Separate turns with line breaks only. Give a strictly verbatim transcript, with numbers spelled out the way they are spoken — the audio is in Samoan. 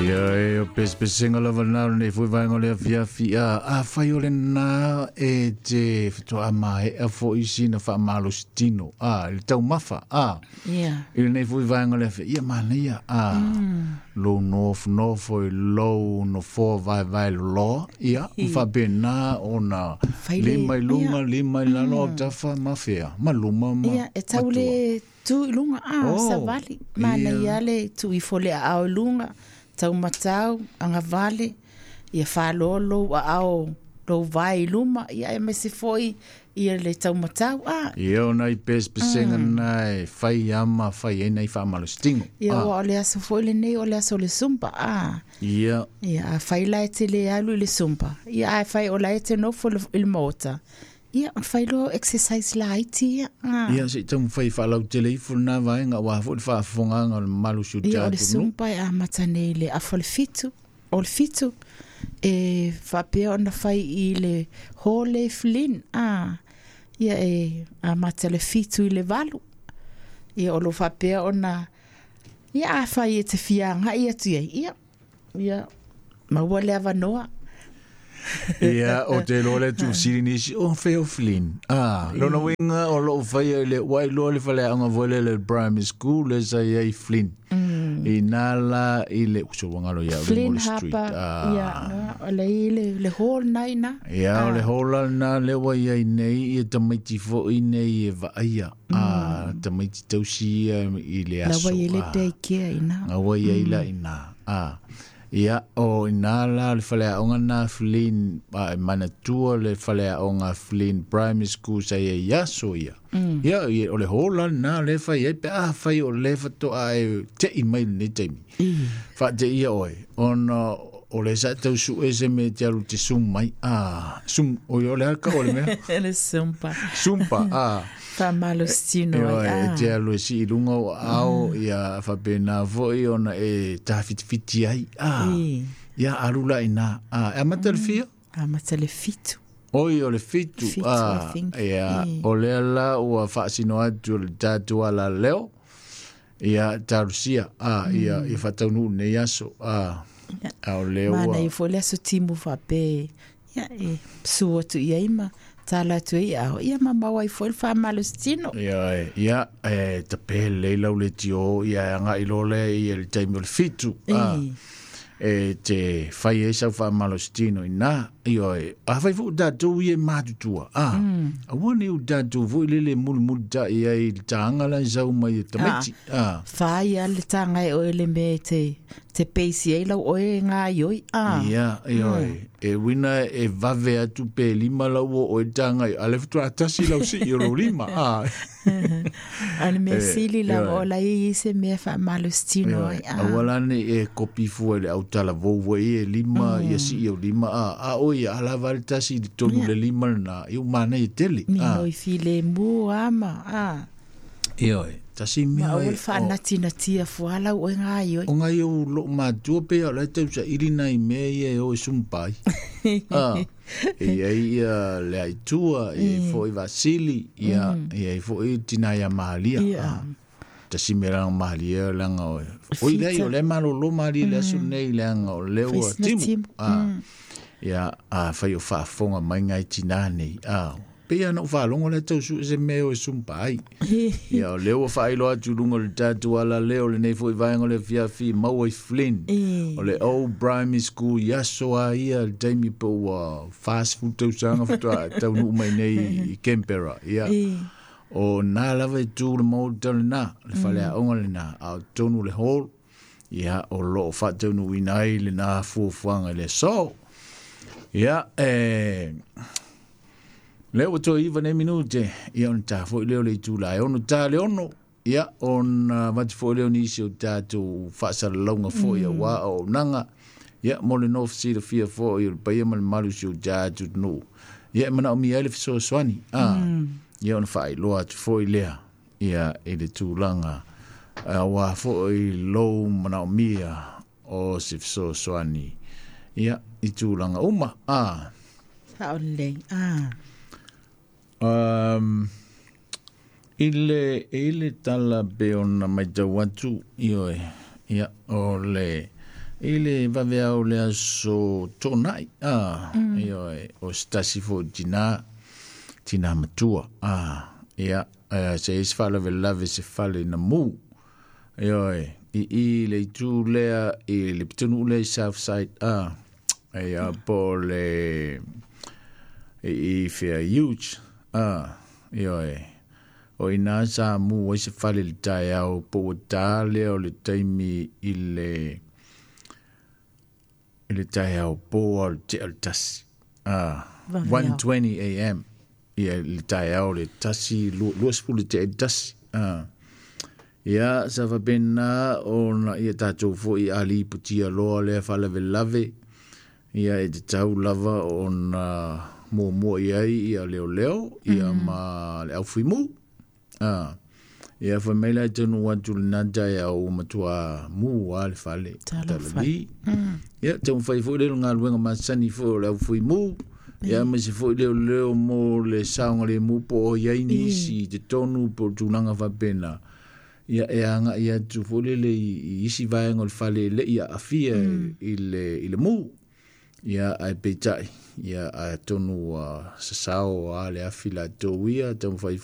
Ia e o pesepesega lava lena o lenei foi vaega o le afiafi a afai o lena e te fetoa maea foi sina faamalositino a i le taumafa a
Ia.
i lenei foi vaega o le afiafi ia manaia a lou nofonofo i lou nofoa vaevae loloa ia ma faapena ona
Fai le-
lima i luga lima i lalo autafa ma fea ma luma ma
Ia, e tau
ma tua.
le tu i luga, a,
Oh,
savali. Manaia
ia.
le tu ifo le aao i luga, taumatau, agavale, ia fāloa lou aao lou vae i luma, ia aemaise foi ia le taumatau, a.
Ia o nai pesepesega na e fai ama fai ai nai faamalositino
Ia,
a
ua o le aso foi lenei o le aso o le Zumba, a.
ia
Ia, afai la e te le alu i le Zumba, ia ae fai o la e te nofo i le- i le maota, ia, ona fai loa o exercise laiti ia, a.
Ia se i taumafai faalautele ifo lena vaega aua foi le faafofogaaga o le mamalu o si o
Ia, o le
tatou nuu.
Zumba e amata nei i le afa o le fitu, o le fitu, e faapea ona fai i le hall e Flynn, a. Ia e amata le fitu i le valu. Ia o lo faapea ona, ia afai e te fia agai atu i ai, ia, ia, maua le avanoa.
Ia, o te iloa le tuufesili nisi, o fea o Flynn. Ah, lona uiga o loo faia i le ua iloa le faleaoga foi lea le primary school le sa i ai Flynn. Ina la i le uso ua galo ia au le
Flynn
Molly Street.
Harper, ia,
Ah.
o le i le, le hall na ina.
Ia, o le hall la lena lea ua i ai nei ia tamaiti foi nei e vaaia. Ah, tamaiti tausi ia i le
La
aso.
ua i le
Ah.
daycare ina.
Nga ua i ai la ina. Ah. Ia, o ina la le faleaoga na Flynn, a, e manatua le faleaoga Flynn Primary School sa i ai aso ia. Ia, ia, o le hall la lena le fai ai, pe a fai o le fatoa e tei mai lenei taimi. Faateia oe, ona o le sa tau sue se mea e te alu te sum mai. Ah, sum, o o le aka o le mea.
Le Zumba.
Sumpa, ah.
Faamalositino
Ioe,
ai,
e
ah.
te alu e sii luga o aao, ia faapena foi ona e tafitifiti ai. Ah,
I.
ia alu la ina. Ah, e amata le fia?
Amata le fitu.
Oi, o le fitu.
Fitu, I
Ah,
think.
ia,
I.
o lea la ua faasino atu o le tatou alaleo. Ia, talosia. Ah, ia, ia faataunuu lenei aso. Ah,
Ia.
a o lea ua...
Manaia foi le aso timu faapea, ia, e su atu i ai ma tala atu ai ao, ia ma maua ai foi le faamalositino.
Ia, e, ia, e tape lelei lau le tio, ia e agai loa lea ia le taimi o le fitu. Ah,
I.
e te fai ai sau faamalositino ina, ioe, afai foi o tatou ia e matutua. Ah, aua ne i o tatou foi lele mulimulita'i ai i le taga la e sau mai e tamaiti. Ah,
Fai a le taga e oe le mea e te, te peisi ai lau oe gaioi. Ah.
ia, ioe, e uina e vave atu pe lima lau o oe taga i, a le faatoa tasi lau sii o lou lima. Ah,
A le mea sili lava
ioe.
o la e i se mea faamalositino ai. Ah.
Aua la nei e kopi fua i le autalavou foi e lima ia sii o lima a a o ia alava le tasi i totonu le lima lena ia ua manaia tele. Ah,
Minoi filemu ama. Ah.
ioe, tasi
Ma
mea
aua
e
le faanatinatia fua lau oe gaioi.
o ngai o loo matua pe o la e tausaili nai mea ia e o e sumpa ai. Ah, e i ai ia le aitua, e i ai foi Vasili, ia e i ai foi tina ia Mahalia.
Ia.
Ah, tasi mea leaga mahalia leaga o oi leai o lea malolo malie le aso nei leaga o lea ua
Faisina
timu.
timu.
Ah, ia a fai o faafofoga mai ngai tinā nei. Ah, pei ona ou faalogo lea tau sue se mea o e sumpa ai. Ia o lea ua faailoa atu i luga o le tatou alaleo lenei foi vaega o le afiafi maua i Flynn.
I.
O le Old Primary School i aso a ia le taimi pe ua fasefulu tausaga faatoa taunuu mai nei i Canberra. Ia,
I.
o nā lava e tu le maota lena, le faleaoga lena, a o totonu le hall, ia o loo faataunuuina ai lena fuafuaga i le aso. Ia, e... Lea ua toe iva nei minute, ia ona tā foi lea o le itula e ono tā le ono, ia ona avatu foi lea o nisi o tatou faasalalauga foi auā auaunaga, ia mo le nofo silafia foi o le paia ma le malu o si o tatou atunuu. Ia e manaomia ai le fesoasoani, ah, ia ona faailoa atu foi lea, ia i le tulaga auā foi lou manaomia o se fesoasoani, ia i tulaga uma, ah.
Sao lelei. Ah.
Um, i le, i le tala pe ona maitau atu, ioe, ia, o le, I le vaveao le aso Toonai, a mm. Ioe, o se tasi fo'i tinā, tinā matua, a ia, se isi faalavelave se fale na mu. Ioe, i i le itu lea i le pitonuu lea i Southside, a ia po o le i i fea huge, a ioe, o ina sa mu ai se fale i le taeao po ua tā lea o le taimi i le i le taeao po o le tea o le tasi. Ah,
Vaveao.
one twenty a m. Ia le taeao le tasi, luasefulu tea i le tasi. Ah. Ia, sa faapena ona ia tatou fo'i aliipotia loa lea faalavelave, ia e tatau lava ona muamua i ai ia leoleo ia ma le aufuimū. Ah. Ia fai mai la e taunuu atu lenā taeao ua matuā mu a le fale.
Talofa.
Talali. Ia, taumafai foi lea o galuega masani foi o le aufuimū. Ia, ma se foi leo leo mo le saogalemu po o iai nisi i totonu po o tulaga faapena. Ia e aga'i atu foi lele i, i isi vaega o le fale e le'i aafia i le, i le mu. Ia, ae peitai, ia atonu ua sasao a le afi latou ia, taumafai foi.